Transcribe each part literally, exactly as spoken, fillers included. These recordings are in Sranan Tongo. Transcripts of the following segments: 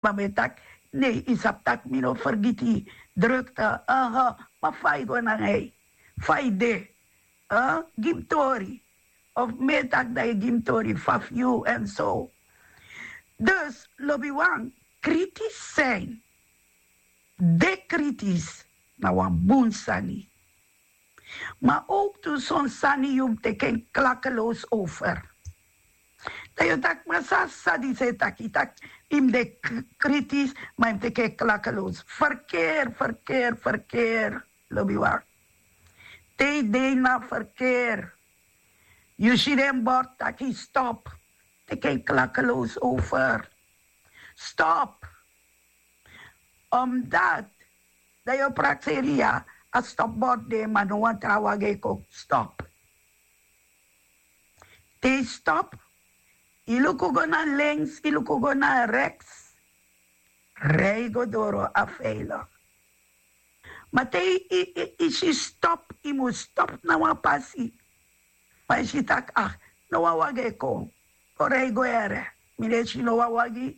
Ma mi e taki, nee, yu sabi tak' mi no fergiti drukte. Aha. Ma fa yu go nanga yu, fa yu de? Gi mi tori. Of mi e taki dan yu gi mi tori fa fu yu èn so. Dus lobiwan, kritis, de kritis na wan bun sani. Ma owktu son sani yu mus teki en klakeloos over. Dan yu o taki, ma san a sani disi e taki? Taki yu mus de kritis, ma yu mus teki en klakeloos. Ferkeer, ferkeer, ferkeer. Lobiwan, te yu de ini a ferkeer, yu si den bord taki stop, teki en klakeloos over. Stop. Omdat dan yu o prakseri, ya, a stopbord de, ma no wan tra wagi e kon stop. Te yu stop, yu luku go na links, yu luku go na reks, rij go doro, a veilig. Ma te yu si stop, yu mus stop na wan pasi. Ma yu si taki, ah, no wan wagi e kon, kon rij go here. Mi no e si no wan wagi.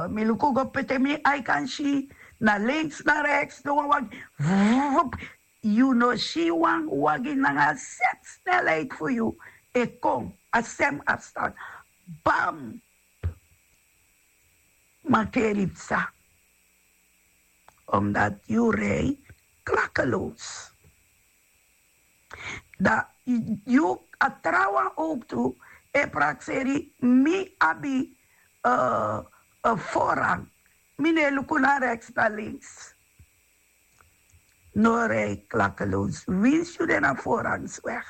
Mi luku go pe te mi ai kan si, na links na reks, no wan wagi. Vup. Yu no si wan wagi nanga a sem snelheid fu yu e kon, a sem afstand. Bam. Mankeri psa. Omdat yu rij klakeloos. Dan yu, a trawan owktu e prakseri, mi abi voorrang. Mi no e luku na reks na links. No rij klakeloos. Winsi yu de na voorrangsweg,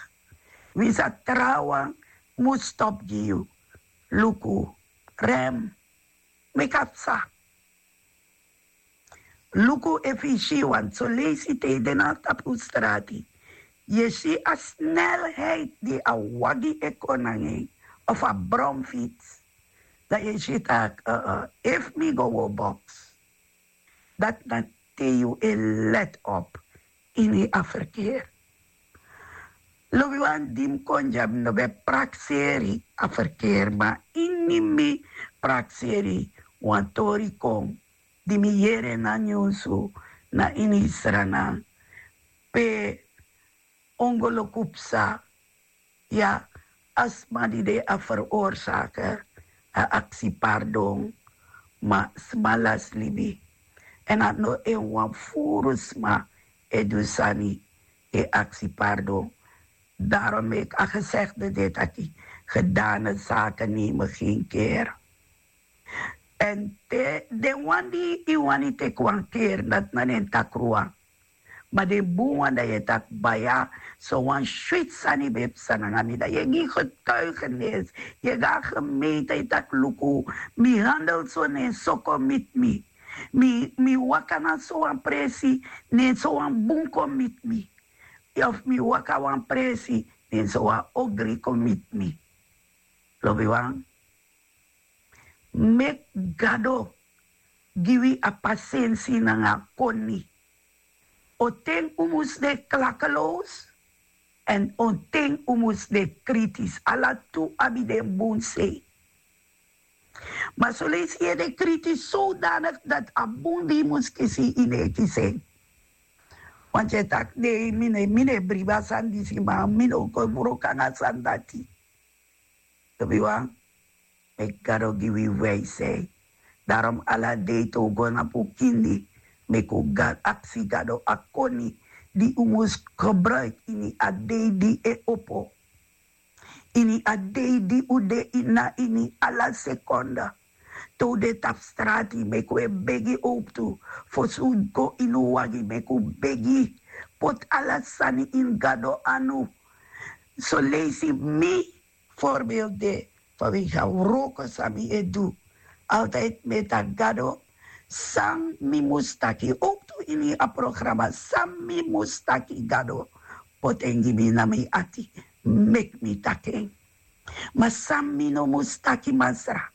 winsi a trawan mus stop gi yu, luku, rem, meki a psa. Luku efu yu si, want son leisi te yu de na tapu strati, yu e si a snelheid di a wagi e kon nanga en, of a bromfits, dan yu e si taki, efu mi go wan box. Dati na te yu e let op ini a ferkeer. Lobiwan, di mi kon dya, mi no ben prakseri a ferkeer, ma ini mi prakseri, wan tori kon di mi yere na nyunsu, na ini Sranan, pe ongoloku psa. Ya, a sma di de a veroorzaker, a aksi pardon, ma sma lasi libi. Èn a no en wan furu sma e du sani, e aksi pardon. Daarom meki a gezegde de taki, gedane zaken nemen geen keer. Èn te den wan di yu wani teki wan keer, dati na den takru wan. Ma den bun wan, dan yu e taki, baya, so wan switi sani ben psa nanga mi. Dan yu e gi getuigenis, yu e go na gemeente, yu e taki, luku, mi handel so, ne en so kon miti mi. Mi waka na so wan presi, ne en so wan bun kon miti mi. Of mi waka wan presi, ne en so wan ogri kon miti mi. Lobiwan, meki Gado gi wi a pasensi nanga a koni. On ten un mus de klakeloos, èn on ten un mus de kritis. Ala tu abi den bun sei. Ma son leisi yu e de kritis zodanig dati a bun di yu mus kisi, yu no e kisi en. Want yu e taki, nee, mi no e, mi no e bribi a sani disi, ma mi no o kon wroko nanga a sani dati. Lobiwan, meki Gado gi wi wijsheid. Daarom ala dei te un go na bukindi, meki un aksi Gado a koni di un mus gebruiki ini a dei di e opo. Ini a dei di un de na ini, ala sekonde. Te un de tapu strati, meki un e begi owktu. Fosi un go ini un wagi, meki un begi. Poti ala sani ini Gado anu. Son leisi mi, voorbeeld de, vanwege a wroko san mi e du. Altijd mi e taki, Gado, san mi mus taki, owktu ini a programa, san mi mus taki, Gado, poti en gi mi na mi ati, meki mi taki en. Ma san mi no mus taki, Masra,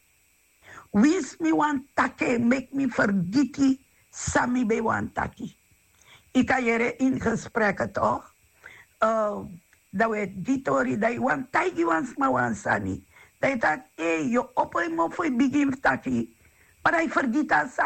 winsi mi wani taki en, meki mi fergiti san mi ben wani taki. Yu kan yere ini gesprek, toch? Dan un e gi tori, dan yu wani taigi wan sma wan sani. Dan yu taki, ei, yu o opo yu mofo, yu bigin fu taki. Mari a e fergiti a